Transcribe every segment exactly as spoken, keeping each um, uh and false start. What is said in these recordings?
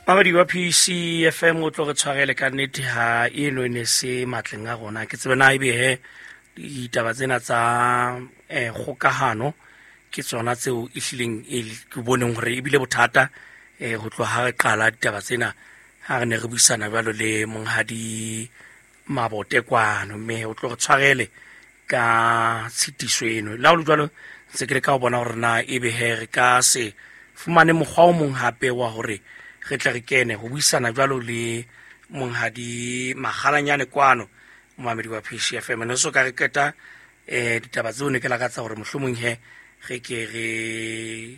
Mamedi wa P C F M o tlo re tshwarele ka nnete ha eno e ne se matleng a rona. Ke tsebe na ebe he ditaba tsena tsa eh kgokahano ke tsona tseo e hlileng e ke boneng hore ebile bothata eh ho tloha ha re qala ditaba tsena ha re ne re buisana jwalo le monghadi Mabote kwano, mme o tlo re tshwarele ka tshitiso eno. Le ha ho le jwalo, ntse ke leka ho bona hore na ebe he re ka se fumane mokgwa o mong hape wa hore re tle re kene ho buisana jwalo le monghadi Makgalanyane kwano, momamedi wa P C F M. Ne so ka re qeta eh ditaba tseo ne ke lakatsa hore mohlomong he re ke re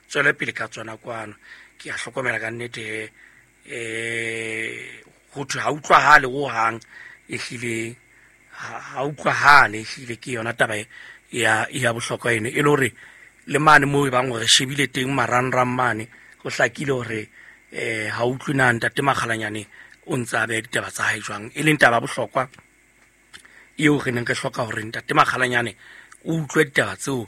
tswele pele ka tsona kwano. Ke a hlokomela ka nnete he eh ho thwe ha utlwahale hohang, ehlile ha, ha utlwahale, ehlile ke yona taba e ya, ya bohlokwa eno, e le hore le mane moo e bang hore re shebile teng marangrang mane, ho hlakile hore eh ha utlwe na ntate Makgalanyane o ntse a beha ditaba tsa hae jwang, e leng taba ya bohlokwa eo re neng re hloka hore ntate Makgalanyane o utlwe ditaba tseo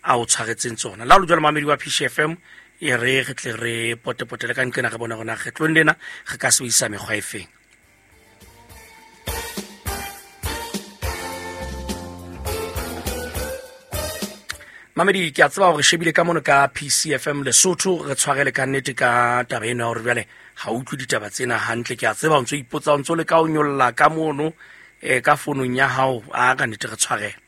a o tshwaretseng tsona. Le ha ho le jwalo, mamedi wa P C F M, e re re tle re potepotele ka nqena re bone hore na kgetlong lena re ka sebedisa mekgwa e feng. Mamedi, ke a tseba hore shebile ka mono ka P C F M Lesotho, re tshwarele ka nnete ka taba ena ya hore jwale ha o utlwe ditaba tsena hantle. Ke a tseba o ntso ipotsa, o ntso leka ho nyolla ka mono, eh, ka founung ya hao, a ka nnete re tshwarele.